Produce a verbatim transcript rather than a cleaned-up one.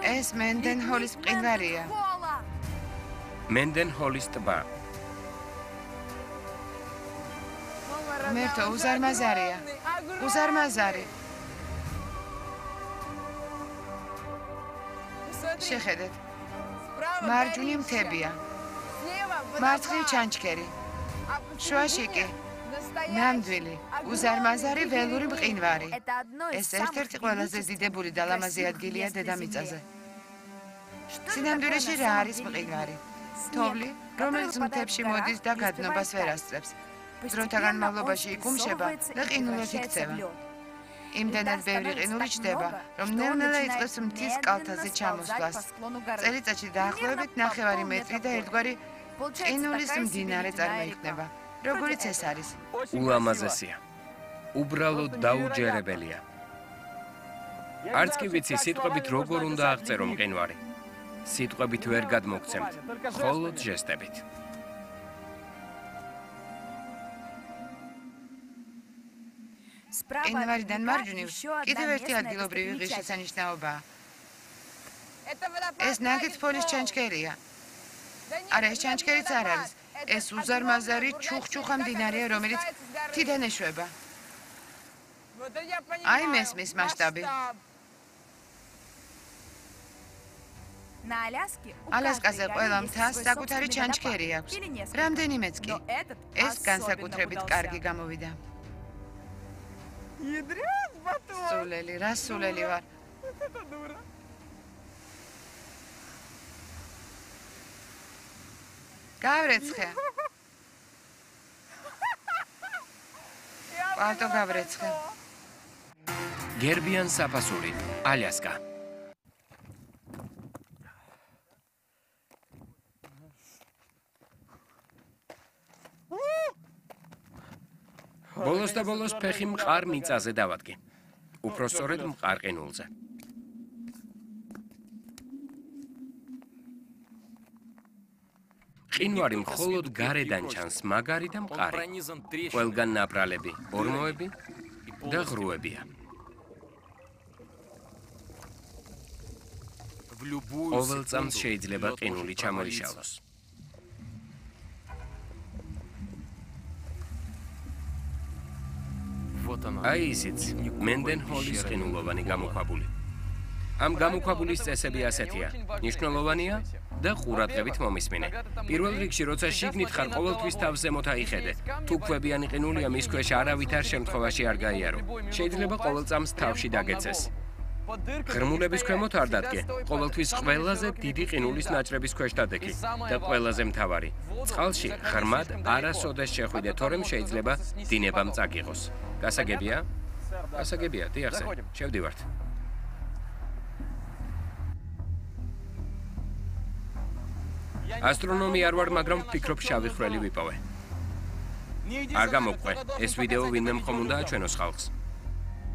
ეს მენდენჰოლის მყინვარია. მენდენჰოლის ტბა. მერტო უზარმაზარია. უზარმაზარი. შეხედეთ. მარჯვნივ მთებია. მარცხნივ ჩანჩქერი. შუაში კი ნამდვილი, უზარმაზარი ველური მყინვარი. ეს ერთ-ერთი ყველაზე დიდებული და ლამაზი ადგილია დედამიწაზე. სინამდვილეში რა არის მყინვარი? თოვლი, რომელიც მთებში მოდის და გადნობას ვერ ასწრებს. დროთა განმავლობაში იკუმშება და ყინულად იქცევა. იმდენად ბევრი ყინული ჩდება, რომ ნელ-ნელა იწყებს მთის კალთაზე ჩამოსვლას. წელიწადში დაახლოებით ნახევარი მეტრი და ერთგვარი ყინულის მდინარე წარმოიქმნება. როგორიც ეს არის. ულამაზესია. უბრალოდ დაუჯერებელია. არც კი ვიცი სიტყვებით როგორ უნდა აღწერო მყინვარი. სიტყვებით ვერ გადმოგცემთ, მხოლოდ ჟესტებით. მყინვარიდან მარჯვნივ კიდევ ერთი ადგილობრივი ღირსშესანიშნაობაა. ეს ნაგითფოლის ჩანჩქერია. არა, ეს ჩანჩქერიც არ არის. ეს უზარმაზარი ჩუხჩუხა მდინარეა, რომელიც მთიდან ეშვება. აი მესმის მასშტაბი. ალასკაზე ყველა მთას საკუთარი ჩანჩქერი აქვს. რამდენიმეც კი. ეს განსაკუთრებით კარგი გამოვიდა. სულელი, რა სულელი ვარ. გავრეცხე. პალტო გავრეცხე. გერბიან საფასური, ალასკა. ბოლოს და ბოლოს ფეხი მყარ მიწაზე დავადგე. უფრო სწორედ მყარ ყინულზე. ყინვარი მხოლოდ გარედან ჩანს, მაგარი და მყარი. ყველგან ნაპრალები, ორმოები და ღრუებია. ყოველ წამს შეიძლება ყინული ჩამოიშალოს. აი ისიც, მენდენჰოლის ყინულოვანი გამოქვაბული. ამ გამოქვაბულის წესები ასეთია: მნიშვნელოვანია და ყურადღებით მომისმინე. პირველ რიგში, როცა შიგნით ხარ, ყოველთვის თავს ზემოთ აიხედე. თუ ქვებიანი ყინულია, მის ქვეშ არავითარ შემთხვევაში არ გაიარო. შეიძლება ყოველ წამს თავში დაგეცეს. ღრმულების ქვემოთ არ დადგე. ყოველთვის ყველაზე დიდი ყინულის ნაჭრების ქვეშ დადექი და ყველაზე მთავარი, წყალში ღრმად არასოდეს შეხვიდე, თორემ შეიძლება დინებამ წაგიღოს. გასაგებია? გასაგებია, დიახ, შევდივართ. ასტრონომი არ ვარ, მაგრამ ვფიქრობ შავი ხვრელი ვიპოვე. არ გამოგყვე, ეს ვიდეო ვინმე მხომ უნდა აჩვენოს ხალხს.